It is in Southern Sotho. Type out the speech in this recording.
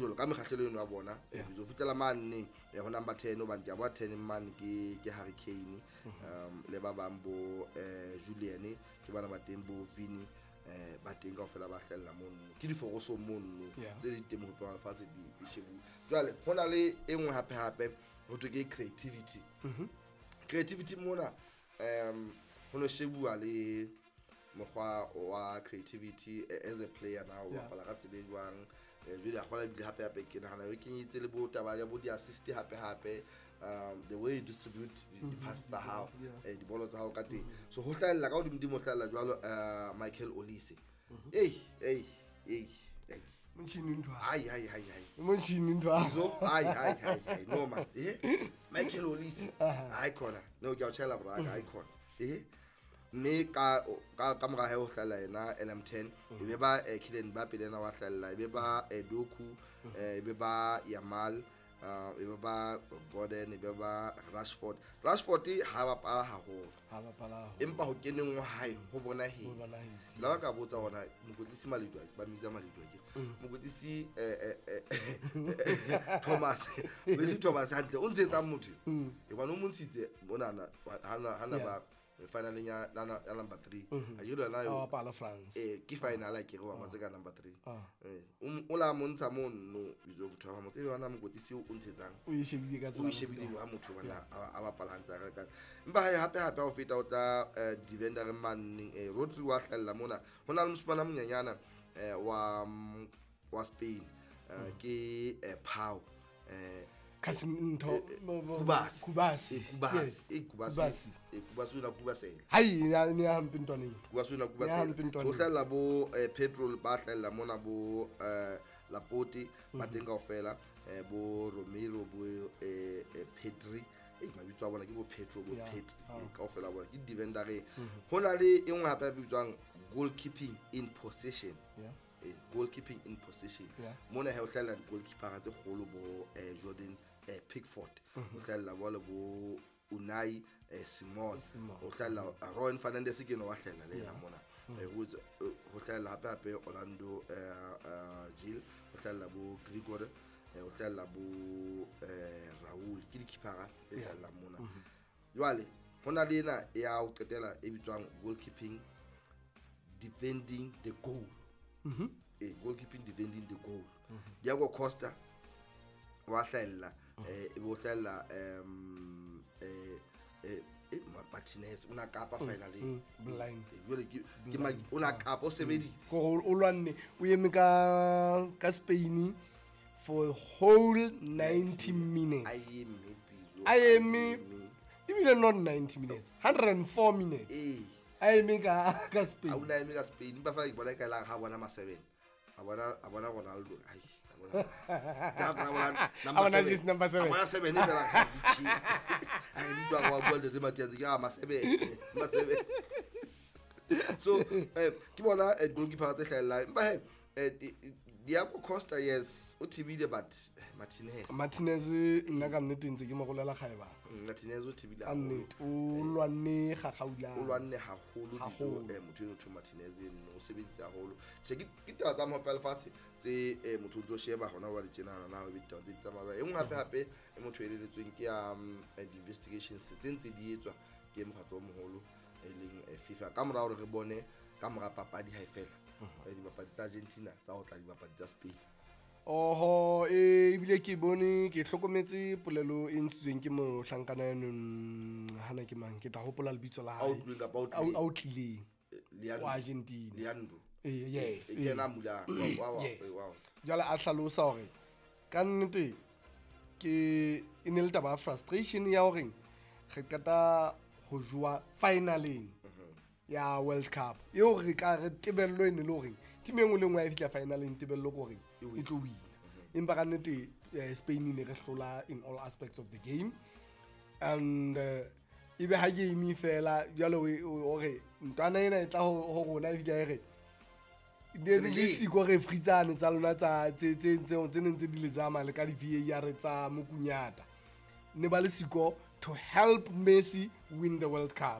Jalo ka mekgahlelo eno ya bona, ho fihlela mane ho number 10, hobane ke a bona 10 mane ke Harry Kane, le ba bang bo Julian, ke bana ba teng bo Vini, ba teng kaofela ba hlahella mono, ke diforosong mono tse di teng mohopeng wa lefatshe di shebuwe. Jwale ho na le e nngwe hape hape ho thwe ke creativity. Creativity mona, ho no shebuwa le mokgwa wa creativity as a player na o bapala ka tsela e jwang. Jwale a kgona ebile hape hape ke nahana e kenyetse le bo taba ya bo di-assist hape hape, the way you distribute di-pass tsa hao, dibolo tsa hao ka teng. So ho hlahella ka hodimodimo, ho hlahella jwalo Michael Olise. Ei ei ei ei! Motšhini ntho. Ai ai ai ai! Motšhini ntho. So ai ai ai ai, no man, Michael Olise, ai khona no, ke a o tjhela braka, ai khona. Mme ka mora hae ho hlahella yena LM10, e be ba Kylian Mbappe, le yena wa hlahella, e be ba Doku, e be ba Yamal, e be ba Gordon, e be ba Rashford. Rashford ha bapala haholo, Ha bapala. Empa ho keneng wa hae ho bonahetse. Ho bonahetse. La ba ka botsa hona mokwetlisi Malidwa, ba mmitsa Malidwa, ke mokwetlisi Thomas, mokwetlisi Thomas hantle o ntshetsang motho e bane o mo ntshitse monana hana ba finaleng ya number 3 a ke yona. A bapala France. Ke final a ke re wa matse ka number 3. Ah. O la montsha mono bitso motho wa motho e bana mokwetlisi o ntshetsang. O e shebile ka O tsela. e shebile ha motho bana a bapala hantle ka empa hae hape hape ha o feta o tla defender maneng, Rodri wa hlahella mona. Ho na le moshimane a monyenyana wa Spain, ke Pau, Kasim ntho. Kubasi. Kubasi. Kubasi. Yes. Kubasi. Kubasi. Kubasi o na Kubasela. Hai, ya ne ya hampe ntwaneng. Kubasi o na Ya Kubasela. hampe ntwaneng. Ho hlahella bo Pedro, ba hlahella mona bo Laporte ba teng kaofela, bo Romero, bo Pedri, mabitso a bona ke bo Pedro, bo Pedri, kaofela bona ke defendereng. Ho na le e nngwe hape e bitswang goalkeeping in possession. Goalkeeping in possession. Mona he ho hlahella di-goalkeepera tse kgolo bo Jordan Pickford, ho hlahella jwale bo Unai Simon, Simon. ho hlahella Rowan Fernandez, ke eno wa hlahella le yena mona. Ho hlahella hape hape Orlando Gil, ho hlahella bo Grigore, ho hlahella bo Raul, ke di-keepera tse hlahellang mona. Jwale ho na le ena ya ho qetela e bitswang goalkeeping defending the goal. Goalkeeping defending the goal, Diego Costa wa hlahella, e bo hlahella Martinez o na kapa finaleng. Blind. Jwale ke o na kapa o sebeditse. Ko o lwanne, o eme ka Spain for whole 90 minutes. A eme Bizo. A eme ebile not 90 minutes, 104 minutes. A eme ka A Spain. o na eme ka Spain, empa fela ke bona e ka la ha bona ma 7, a bona Ronaldo, ai, a bona. Ka bona A bona number just 7. Number 7. A bona 7 fela ha di chi a re di twa wa bua le Matias, ke ma 7, ma 7. So ke bona goalkeeper tse hlahellang, empa he Diego Costa, yes, o thibile, but Martinez. Martinez nna ka nnete ntse ke mo rolela kgaeba. Martinez o thibile Ka haholo. nnete o lwanne gagaula. O lwanne haholo. Haholo. Bizo, motho eno thwe Martinez eno o sebeditse haholo. Tjhe, ke taba tsa mohope wa lefatshe tse motho o ntso sheba hona jwale tjenana na ebe ditaba tse di tsamaya. E nngwe hape hape e motho e eleletsweng ke ya di-investigations tse ntse di etswa ke mokgatlo o moholo e leng FIFA, ka mora hore re bone ka mora papadi ha e fela, dibapadi tsa Argentina tsa ho tla dibapadi tsa Spain. Oho, ebile ke bone ke hlokometse polelo e ntshitsweng ke mohlankana eno, hana ke mang, ke tla hopola lebitso la A hae. o tlileng kapa o tlileng? A o tlileng. Leandro. Wa Argentina. Leandro. Yes. E kena mula wa Yes. wa. Jwale a hlalosa hore ka nnete ke e ne le taba ya frustration ya hore re qeta ho jowa finaleng ya World Cup eo re ka re tebello e ne le hore team e nngwe le nngwe ha e fihla finaleng tebello ke hore e tlo wina, empa ka nnete Spain e ne re hlola in all aspects of the game and ebe ha game e fela jwale o re ntwana ena e tla ho rona e fihla e re ne le Re siko referee tsane tsa lona tsa tse neng tse di le tsamaya le ka di-VAR tsa mokunyata ne ba le siko to help Messi win the World Cup.